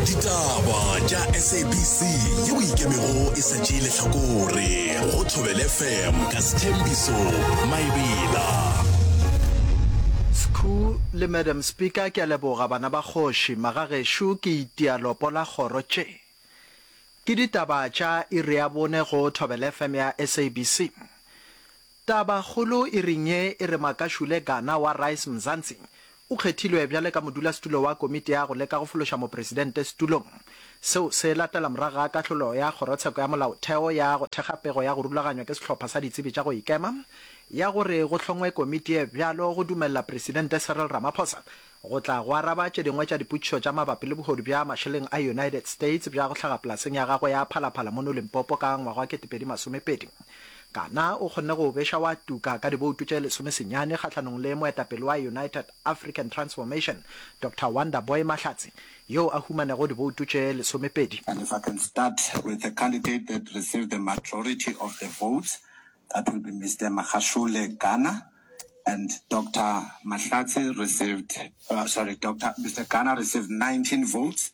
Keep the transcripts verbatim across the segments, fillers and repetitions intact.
Ditaba tša S A B C yeo e ikemego e sa tšee lehlakore go Thobela F M ka Sthembiso Maebela. Skhu le Madam Speaker ke a leboga bana ba kgoši magagešo ke itia lopo la kgoro tše ke ditaba tša iri ya bone go Thobela F M ya S A B C. Taba kgolo iring ye e re Makashule Gana wa Rise Mzansi o kgethilwe bjale ka modulasetulo wa komiti ya go leka go fološa mopresidente setulong. Seo se latela morago ga kahlolo ya Kgorotsheko ya Molaotheo ya go thekga pego ya go rulaganywa ke sehlopha sa ditsebi tša go ikema ya gore go hlongwe komiti ye bjalo go dumelela Presidente Cyril Ramaphosa go tla go araba tše dingwe tša dipotšišo tša mabapi le bohodu bja mašeleng a United States bja go hlaga polaseng ya gagwe ya Phalaphala mono Limpopo ka ngwaga wa ketepedi masomepedi. Gana o kgonne go beša wa tuka ka diboutu tše lesomesenyane kgahlanong le moetapele wa United African Transformation Doctor Wonderboy Mahlatsi yo a humanego diboutu tše lesomepedi. And if I can start with the candidate that received the majority of the votes, that will be Mister Makashule Gana. And Doctor Mahlatsi received, uh, sorry, Doctor Mister Gana received nineteen votes,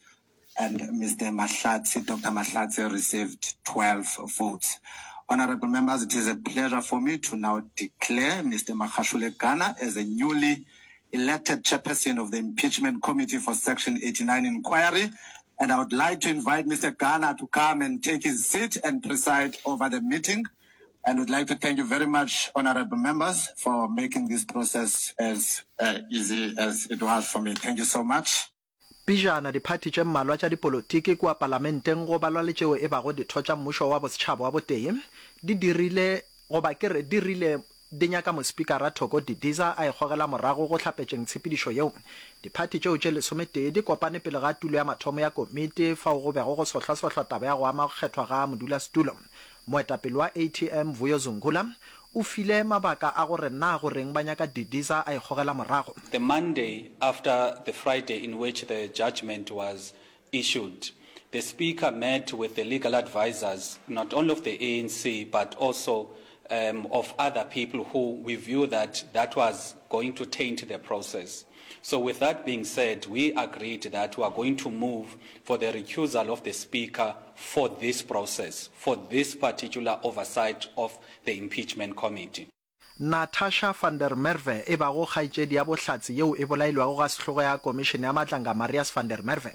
and Mister Mahlatsi, Doctor Mahlatsi received twelve votes. Honorable members, it is a pleasure for me to now declare Mister Makashule Gana as a newly elected chairperson of the Impeachment Committee for Section eighty-nine Inquiry. And I would like to invite Mister Gana to come and take his seat and preside over the meeting. And would like to thank you very much, honorable members, for making this process as, uh, easy as it was for me. Thank you so much. Pejana diphathi tše mmalwa tša dipolotiki kua palamenteng go balwa le tšeo e bago ditho tša mmušo wa bosetšhaba wa botee di dirile goba ke re di rile di nyaka mospikara Thoko Didiza a ikgogela morago go hlapetšeng tshepedišo yeo. Diphathi tšeo tše lesometee di kopane pele ga tulo ya mathomo ya komiti fao go bego go sohlasohlwa taba ya go ama go kgethwa ga modulasetulo. Moetapele wa A T M Vuyo Zungula o file mabaka a gore na goreng ba nyaka Didiza a ikgogela morago. The Monday after the Friday in which the judgment was issued, the Speaker met with the legal advisors, not only of the A N C, but also um, of other people who we view that that was going to taint the process. So with that being said, we agreed that we are going to move for the recusal of the Speaker for this process, for this particular oversight of the impeachment committee. Natasha van der Merwe e bago kgaetšedi ya bohlatse yeo e bolailwego ga sehlogo ya komišene ya Madlanga Marius van der Merwe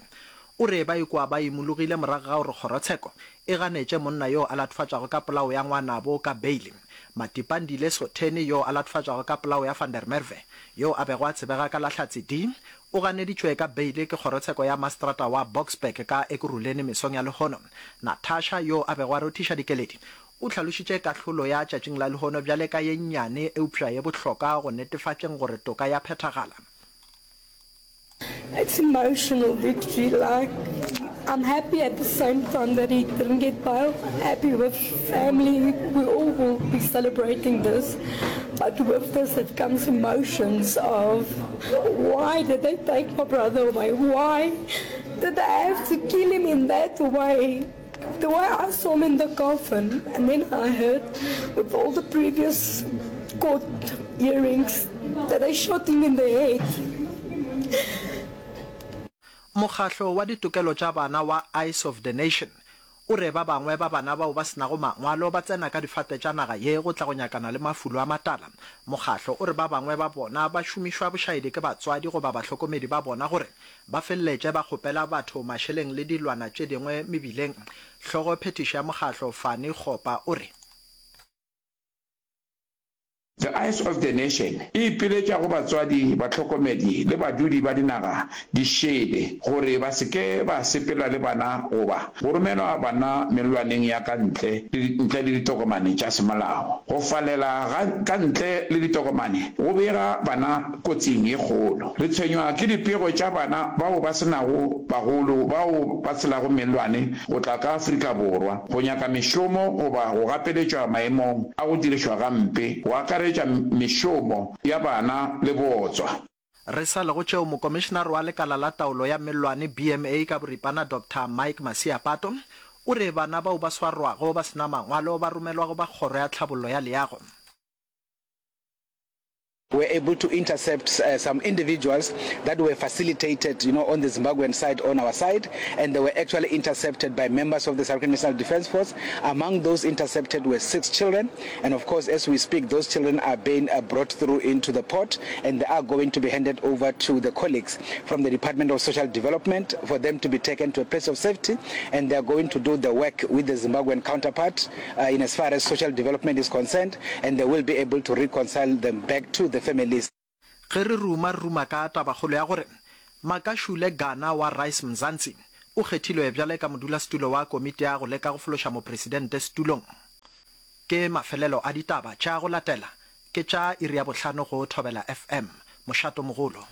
o re ba ikwa ba imologile morago ga gore kgorotsheko e ganetše monna yo a latofatšwago ka polao ya ngwanabo ka beile. Matipandile Sotheni yo a latofatšwago ka polao ya van der Merwe yo a bego a tsebega ka la Hlatse D o ganeditšwe ka beile ke kgorotsheko ya mastrata wa Boksburg ka Ekurhuleni mesong ya lehono. Natasha yo a bego a rothiša dikeledi o hlalošitše kahlolo ya tšatšing la lehono bjale ka ye nnyane eupša ye bohlokwa go netefatšeng gore toka ya phethagala. It's emotional victory. Like, I'm happy at the same time that he didn't get bail. I'm happy with family. We all will be celebrating this. But with this, it comes emotions of why did they take my brother away? Why did they have to kill him in that way? The way I saw him in the coffin, and then I heard with all the previous court hearings that they shot him in the head. Mokgahlo wa ditokelo tša bana wa Eyes of the Nation o re ba bangwe ba bana bao ba se nago mangwalo ba tsena ka difate tša naga ye go tla go nyakana le mafulo a matala. Mokgahlo o re ba bangwe ba bona ba šomišwa bošaedi ke batswadi goba bahlokomedi ba bona gore ba feleletše ba kgopela batho mašeleng le dilwana tše dingwe mebileng. Hlogo phethišo ya mokgahlo Fani Kgopa o re The Eyes of the Nation e ipiletša go batswadi, bahlokomedi le badudi ba dinaga di šele gore ba se ke ba sepela le bana goba go romelwa bana mellwaneng ya ka ntle ntle le ditokomane tša semolao. Go falela ga ka ntle le ditokomane go bega bana kotsing ye kgolo. Re tshwenywa ke dipego tša bana bao ba se nago bagolo bao ba tshelago mellwane go tla ka Afrika Borwa go nyaka mešomo goba go gapeletšwa maemong a go dirišwa gampe, go akaretša mešomo ya bana le bootswa. Re sa le go tšeo, mokomišenare wa lekala la taolo ya mellwane B M A ka boripana Doctor Mike Masiapato o re bana bao ba swarwago ba se na mangwalo ba romelwa go ba kgoro ya tlhabollo ya leago. were able to intercept uh, some individuals that were facilitated, you know, on the Zimbabwean side, on our side, and they were actually intercepted by members of the South African National Defence Force. Among those intercepted were six children, and of course, as we speak, those children are being uh, brought through into the port, and they are going to be handed over to the colleagues from the Department of Social Development for them to be taken to a place of safety, and they are going to do the work with the Zimbabwean counterpart uh, in as far as social development is concerned, and they will be able to reconcile them back to the families. Ge re ruma re ruma ka tabakgolo ya gore Makashule Gana wa Rise Mzansi o kgethilwe bjale ka modulasetulo wa komiti ya go leka go fološa mopresidente setulong. Ke mafelelo a ditaba tša go latela ke tša iri ya bohlano go Thobela FM, mošatomogolo.